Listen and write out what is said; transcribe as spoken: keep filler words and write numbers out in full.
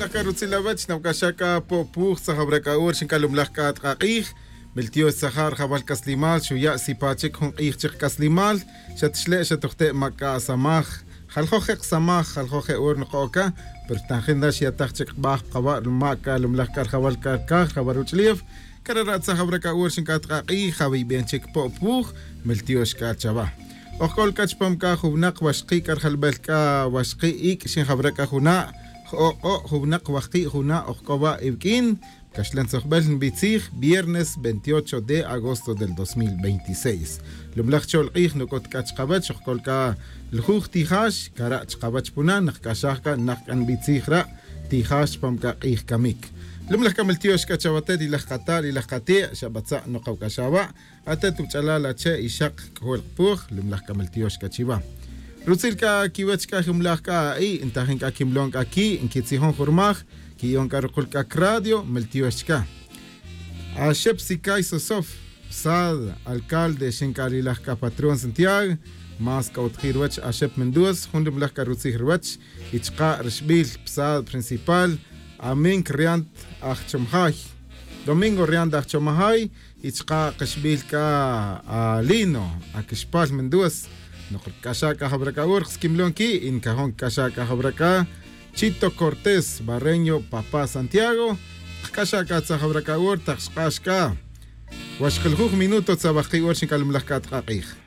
Lajka rutzilawach nawk'axaka Pop Wuj tzajawrak'a'ur xinkalumlaj k'atq'aq'ij Meltio Sahar Jabal Kaslimal xuya sipachik jun q'ij chiq Kaslimal xatxle' xatuqte' mak'a samaj jaljoj samaj jaljoj ur nqoka pero tanjin da xyataj chik b'aj qawa' maka lumlaj kar jabal kar kaj jabal ruchlief karara tzajawrak'a'ur xink'atq'aq'ij jawib'en chik Pop Wuj meltio xk'achaba Ojkol kachpam ka jubnaq waxqi karjalb'el ka waxqi ik xinjawraka juna' jo'o jubnaq waxqi juna' ojkoba ib'k'in Kaxlan Tzojb'el nb'itzij viernes veintiocho de agosto del dos mil veintiséis. Lumlaj chol q'ij nuk'ot k'ach qab'ach ojkol ka ljuj tijax kara' chqab'ach puna naq k'axaj ka naq k'an b'itzij ra' tijax pam ka q'ij kamik. Lumlaj kameltiox k'achawatet ilaj qatal ilaj qati' xab'atza' noqaw k'axawa' atet uch'alal ache ixaq k'jol qpuj lumlaj kameltiox k'achiwa. Rutzil ka kiwech ka jumlaj ka i intajin ka kimlon ka ki inkitzijon jurmaj kiyon ka ruqul ka radio meltiox ka. Ashep Sikay Sosof Sad alcalde xink'alilaj ka patrón Santiago mas ka utjir wach Ashep Mendoza jun lumlaj ka rutzij wach ichqa rixb'il Psad principal Amink Riant Ajchomjay Domingo Riant Ajchomjay ichqa qixb'il ka Lino Akixpal Mendoza Noqol k'axaka jabraka ur qskimlon ki inkajon k'axaka jabraka Chito Cortés Barreño Papá Santiago k'axaka tzajabraka ur taqxq'axka waxqiljuj minuto tzabajqi ur xinkalumlaj k'atq'aq'ij.